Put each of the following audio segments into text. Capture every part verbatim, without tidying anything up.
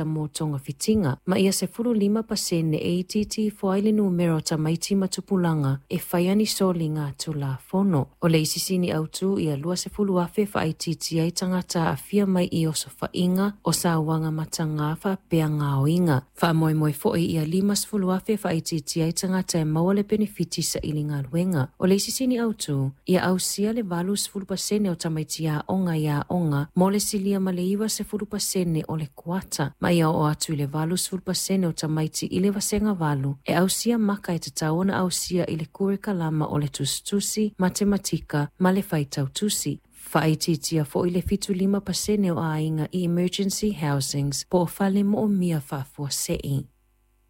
Mo togafitiga, ma ia sefulu lima pasene e itiiti ifo ai le numera o tamaiti ma tupulaga e faia ni soliga tulafono. O le isi sini autū ia lua sefulu afe faaitiitia ai tagata aafia mai i osofaiga o sauaga matagā faapea gaoiga. Faamoemoe foi ia lima sefulu afe faaitiitia ai tagata e maua le penefiti saili galuega. O le isi sini autū ia ausia le valu sefulu pasene o tamaiti aoga i aoga mo le silia ma le iwa sefulu pasene o le kuata, ma ia oo atu i le valu sefulu pasene o tamaiti i le vasega valu e ausia maka e tatau ona ausia i le kurikalama o le tusitusi, matematika ma le faitautusi. Faaitiitia foi le fitu lima pasene o aiga i emergency housings po o fale moomia faafuasei.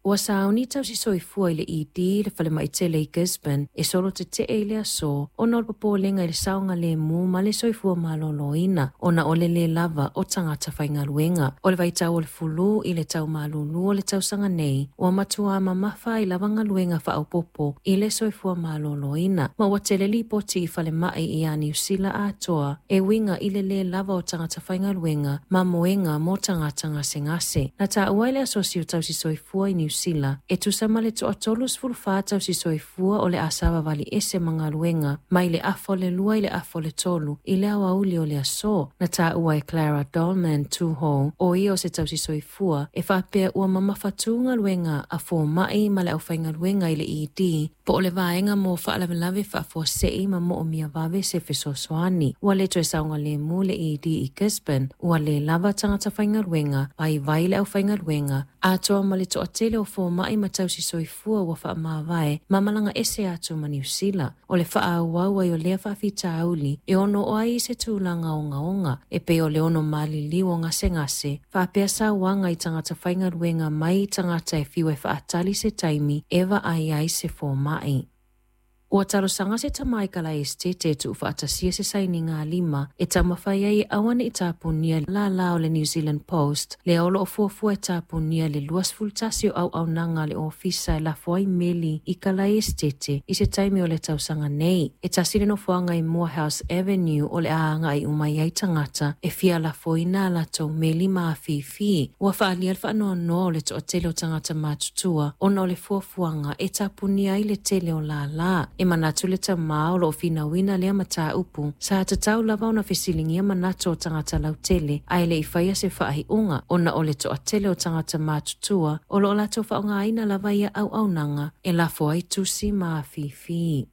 Ua sauni tausi soifua i le E D le falemai tele i Gisborne e solo tetee i le aso ona o le popolega i le saogalemu ma le soifua maloloina ona o le lē lava o tagata faigaluega. O le vaitau o le fulu i le tau malūlū o le tausaga nei ua matuā mamafa ai lava galuega faaopoopo i le soifua maloloina, ma ua tele lipoti i falemai iā Niu Sila atoa e uiga i le lē lava o tagata faigaluega ma moega mo tagata gasegase. Na taua e le asosi o tausi soifua i Niu Sila e tusa ma le toatolu sefulu fa tausi soifua o le a savavali ese ma galuega mai le afa o le lua i le afa o le tolu i le aoauli o le aso. Na taua e Clara Dolman Tuho, o ia o se tausi soifua, e faapea ua mamafatū galuega a fomaʻi ma le aufaigaluega i le E D po o le vaega mo faalavelave faafuasei ma moomia vave se fesoasoani. Ua le toe saogalemu le E D i Gisborne, ua lē lava tagata faigaluega, vaivai le aufaigaluega atoa ma le toatele o fomaʻi ma tausi soifua ua faamavae ma malaga ese atu ma Niu Sila. O le faaauau ai o lea faafitauli e ono oo ai i se tulaga ogaoga e pei o le ono maliliu o gasegase faapea sauaga i tagata faigaluega mai tagata e fiu e faatali se taimi e vaai ai se fomaʻi. Ua talosaga se tamā i kalaesetete e tuufaatasia se sainiga lima e taumafai ai e aua nei tapunia lālā o le New Zealand Post lea o loo fuafua e tapunia le luasefulu tasi o auaunaga a le ofisa e lafo ai meli i kalaesetete i se taimi o le tausaga nei. E tasi le nofoaga i Moorhouse Avenue o le a agai uma i ai tagata e fia lafoina a latou meli ma afifi. Ua faaalia le faanoanoa o le toatele o tagata matutua ona o le fuafuaga e tapunia ai le tele o lālā. E manatu le tamā o loo finauina lea mataupu sa tatau lava ona fesiligia manatu o tagata lautele ae le i faia se faaiuga ona o le toatele o tagata matutua o loo latou faaaogaina lava ia auaunaga e lafo ai tusi ma afifi.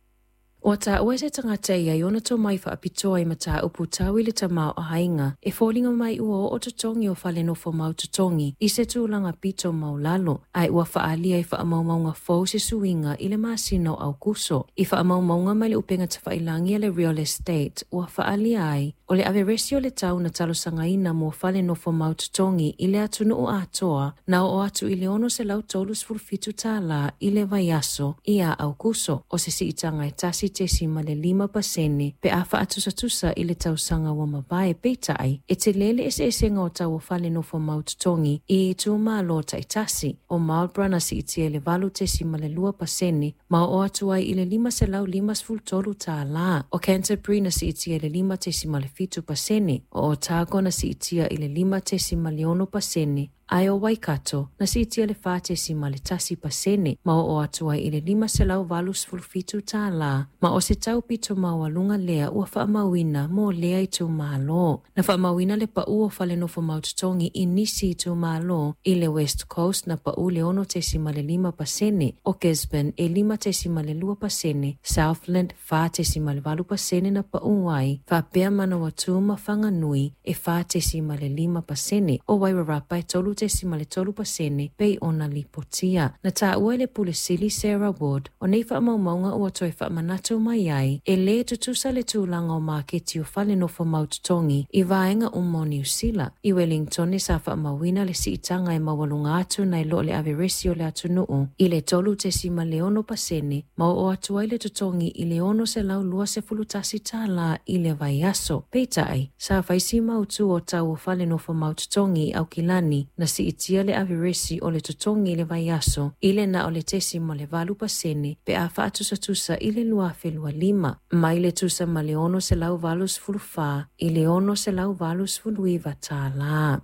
Ua taua se tagata ia i ona tomai faapitoa i mataupu tau i le tamaoaiga e foliga mai ua oo totogi o fale nofo mau totogi i se tulaga pito maulalo, ae ua faaalia i faamaumauga fou se suiga i le masina o Aukuso. I faamaumauga mai le upega tafailagi a le Real Estate ua faaalia ai o le averesi o le tau na talosagaina mo fale nofo mau totogi i le atunuu atoa na oo atu i le ono selau tolu sefulu fitu tālā i le vaiaso ia Aukuso, o se siitaga e tasi tesima le lima pasene pe a faatusatusa i le tausaga ua mavae. Peitai e tele le eseesega o tau o fale nofo mau totogi i itumalo taitasi. O Marlborough na siitia i le valu tesima le lua pasene ma oo atu ai i le lima selau lima sefulu tolu tālā. O Canterbury na siitia i le lima tesima le fitu pasene, o Otago na siitia i le lima tesima le ono pasene, ae o Waikato na siitia le fa tesima le tasi pasene ma oo atu ai i le lima selau valu sefulu fitu tālā, ma o se tau pito maualuga lea ua faamauina mo lea itumalo. Na faamauina le paʻu o fale nofo mau totogi i nisi itumalo. I le West Coast na paʻu le ono tesima le lima pasene, o Gisborne e lima tesima le lua pasene, Southland fa tesima le valu pasene na paʻu ai, faapea Manawatū ma Whanganui e fa tesima le lima pasene, o Wairarapa e tolu tesima le tolu pasene pei ona lipotia. Na taua e le Pule Sili Sarah Wood o nei faamaumauga ua toe faamanatu mai ai e lē tutusa le tulaga o maketi o fale nofo mau totogi i vaega uma o Niu Sila. I Wellington sa faamauina le siitaga e maualuga atu nai lo le averesi o le atunuu i le tolu tesima le ono pasene ma oo atu ai le totogi i le ono selau lua sefulu tasi tālā i le vaiaso. Peitai sa faisi mautu o tau o fale nofo mau totogi i Aukilani na siitia le averesi o le totogi i le vaiaso i le na o le tesima le valu pasene pe a faatusatusa i le lua afe lua lima, mai le tusa ma le ono selau valu sefulu fa i le ono selau valu sefulu iva tālā.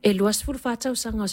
E lua sefulu fa tausaga o